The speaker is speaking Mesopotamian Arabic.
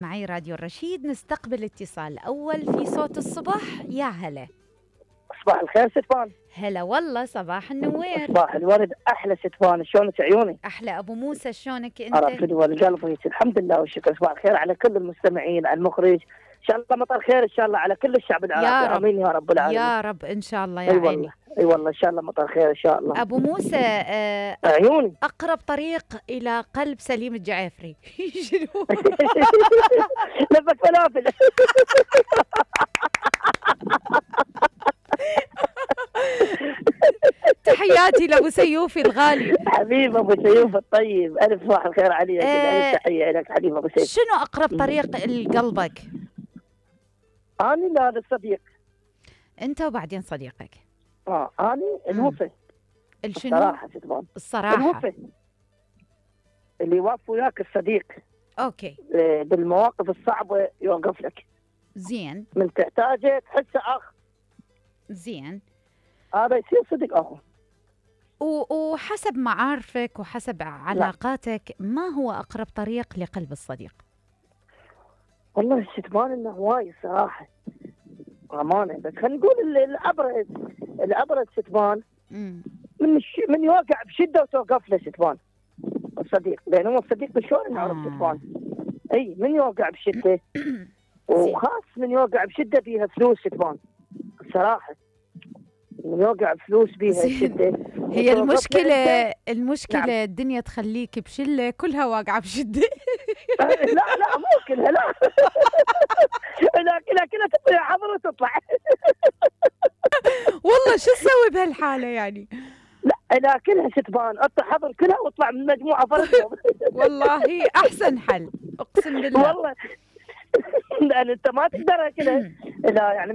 معي راديو الرشيد، نستقبل اتصال أول في صوت الصبح. يا هلا. صباح الخير ستفان. هلا والله، صباح النوير. صباح الورد. أحلى ستفان، شلونك عيوني؟ أحلى أبو موسى، شلونك أنت؟ عرفت والقلب. الحمد لله والشكر. صباح الخير على كل المستمعين، على المخرج، إن شاء الله مطر خير إن شاء الله على كل الشعب العراقي. آمين يا رب العالمين. يا رب إن شاء الله يا أي عيني. والله أي والله إن شاء الله مطر خير إن شاء الله. أبو موسى، عيوني أقرب طريق إلى قلب سليم الجعافري شنو؟ لفك فلافل. تحياتي لأبو سيوفي الغالي. حبيب أبو سيوف الطيب، ألف صباح الخير عليك. ألف تحية لك حبيب أبو سيوف. شنو أقرب طريق لقلبك؟ أنا لا الصديق. أنت وبعدين صديقك. أنا الوفي. الشنو؟ الصراحة ستفان. الصراحة. الوفي اللي يوقف وياك الصديق. أوكي. بالمواقف الصعبة يوقف لك. زين. من تحتاجه تحسه أخ. زين. هذا يصير صديق أخو. وحسب معارفك وحسب علاقاتك، ما هو أقرب طريق لقلب الصديق؟ والله ستفان إنه هواي صراحة أمانة، بس خلينا نقول الأبرز ستفان من يوقع بشدة وتوقف له ستفان الصديق، لأن هو الصديق شلون نعرف ستفان؟ أي من يوقع بشدة وخاص من يوقع بشدة بيها فلوس ستفان الصراحة، من يوقع فلوس بيها شدة. هي المشكلة نعم. الدنيا تخليك بشلة كلها واقعة بشدة. لا مو كلها، لا كلها تطلع حضر وتطلع. والله شو تسوي بهالحالة يعني؟ لا كلها ستفان، اطلع حضر كلها واطلع من مجموعة فرق. والله أحسن حل، أقسم بالله. والله لأن أنت ما تقدر كذا، لا يعني